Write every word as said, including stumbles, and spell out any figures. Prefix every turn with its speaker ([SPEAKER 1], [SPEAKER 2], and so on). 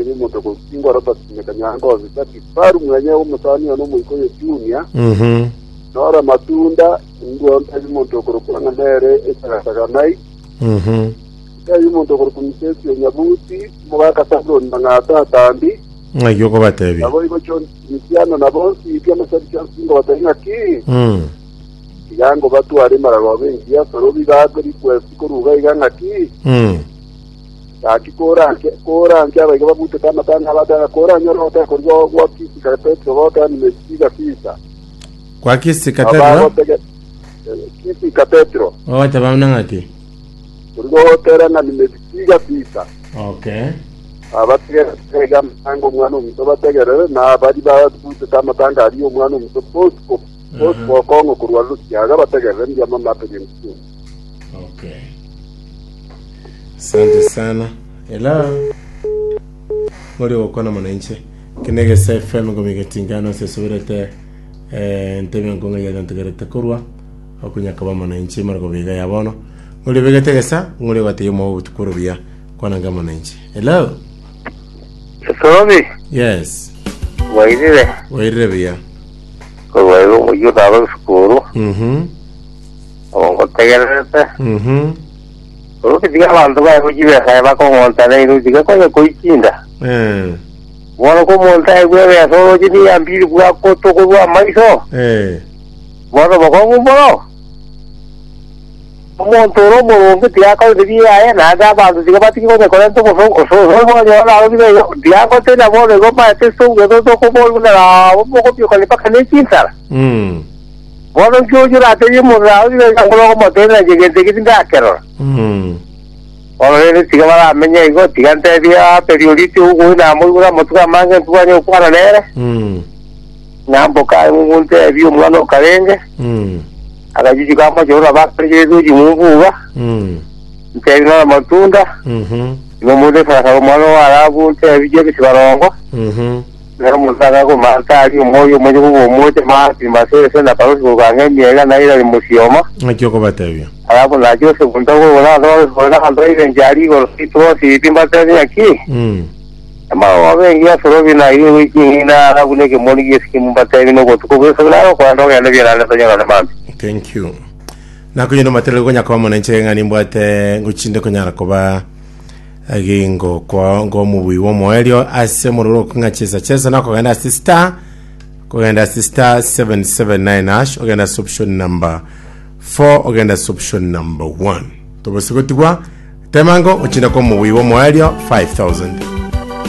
[SPEAKER 1] Omonto gosingwa Robert Nyakanyango Obisaki Faru mwenye omosani ono Omoikoyo Junior.
[SPEAKER 2] Mhm.
[SPEAKER 1] Nora Matunda ndwo ntebi omonto okorokwa ng'a nere esagasaga Mike.
[SPEAKER 2] Mhm.
[SPEAKER 1] Ntebi omonto okorokwa Misesi Onyabuti omogaka Sabuloni Mang'ata Atambi.
[SPEAKER 2] Ng'aki okobatebia?
[SPEAKER 1] Nabo igo John Misiano na bonsi pi amasabiki onsi ngobatebia ng'aki
[SPEAKER 2] Mm.
[SPEAKER 1] iga ngo batware maragoba engiya sorobi gakwe request koruga iga ng'aki
[SPEAKER 2] Mm.
[SPEAKER 1] gaki koranke koranke abaiga babutete amatanga abatanga koranyora gotaka korwa gwa Kisii Petro gotaka nimesiga fisa.
[SPEAKER 2] Kwa Kisii Cathedral?
[SPEAKER 1] Abagotege Kisii Cathedral.
[SPEAKER 2] Ogoteba buna ng'aki?
[SPEAKER 1] Origotera ng'a nimesiga fisa.
[SPEAKER 2] Okay.
[SPEAKER 1] Abategerere amatanga omwana omuto bategerere na bari babutete amatanga ari omwana omuto Bosco Bosco Okong'o korwa Lusiaga bategerere mbuya mama aperi mtu.
[SPEAKER 2] Okay. Asante sana. Hello. Ngori gokwana mwananchi. Kinege F M gomigetingano sesoberete eh ntebe nkonga ya ntegerete korwa okunyaka ba mwananchi margo biga ya bono. Ngori begete gesa ngori gwate mo butukuru bia kwana nga mwananchi. Hello.
[SPEAKER 3] Sorobi.
[SPEAKER 2] Yes.
[SPEAKER 3] Wairire?
[SPEAKER 2] Wairire bia.
[SPEAKER 3] Korwa igo omoyio nabo esukuru.
[SPEAKER 2] Mhm.
[SPEAKER 3] Ngotegererete.
[SPEAKER 2] Mhm.
[SPEAKER 3] Sorobi, tiga abanto bae chibesa bakong'onta nairo, tiga konya koichinda.
[SPEAKER 2] Eh.
[SPEAKER 3] Bono ko omonto aigwe ebesa oroche niyambiri bwakotokorwa amaiso.
[SPEAKER 2] Eh.
[SPEAKER 3] Bono bokong'u mono omonto ore omoronge tiga akorete biaye, naende abanto tiga batige konya korenta ososonyora narobire igo tiga ngotena bono igo maete sogeto tokobori buna nabo mogobiokani mpaka nechinsara.
[SPEAKER 2] Mm.
[SPEAKER 3] Bono nkiocho raterie omonto narobire iga ngoro okomotebera nche gento eki tindakerora.
[SPEAKER 2] Mm.
[SPEAKER 3] Bono rende tiga baramenya igo, tiga ntebia perioriti ogoi namoigure amatuko amange ntubanye gokwana nere.
[SPEAKER 2] Mm.
[SPEAKER 3] Namboka ntebi omwana okarenge.
[SPEAKER 2] Mm.
[SPEAKER 3] Akajuju kamochoro bakarigete chimumbuga.
[SPEAKER 2] Mm.
[SPEAKER 3] Ntebi nora Matunda.
[SPEAKER 2] Mhm.
[SPEAKER 3] Igo mundu esarasaba omwana warabu ntebi James Barongo.
[SPEAKER 2] Mhm.
[SPEAKER 3] Nero omonto akakomanta ari omoyo omonye koba omoche mati masese na parosi kokanga emiega nairari musioma.
[SPEAKER 2] Ng'aki okobatebia?
[SPEAKER 3] Alafu na Joseph ntokoona abanto bairenche ari igoro itwosi mbatebi ng'aki
[SPEAKER 2] Mm.
[SPEAKER 3] amagogo bengi asorobi na iwe wiking'ina alafu nekemoni giesikimu mbatebi nobotuko bwesobi naro kwenda ogende biarande tonyora mambi.
[SPEAKER 2] Thank you. Nakunyina materere konya kwa mwananchi ng'a nimbwate ngochinde konyara koba gingo kwa ngo mubui wo moelio ase mororo kung'a chesa chesa nakogenda ase star kogenda ase star seven seven nine hash, ogenda ase option number four, ogenda ase option number one, tobose gotigwa temango ochinda kwa mubui wo moelio five thousand.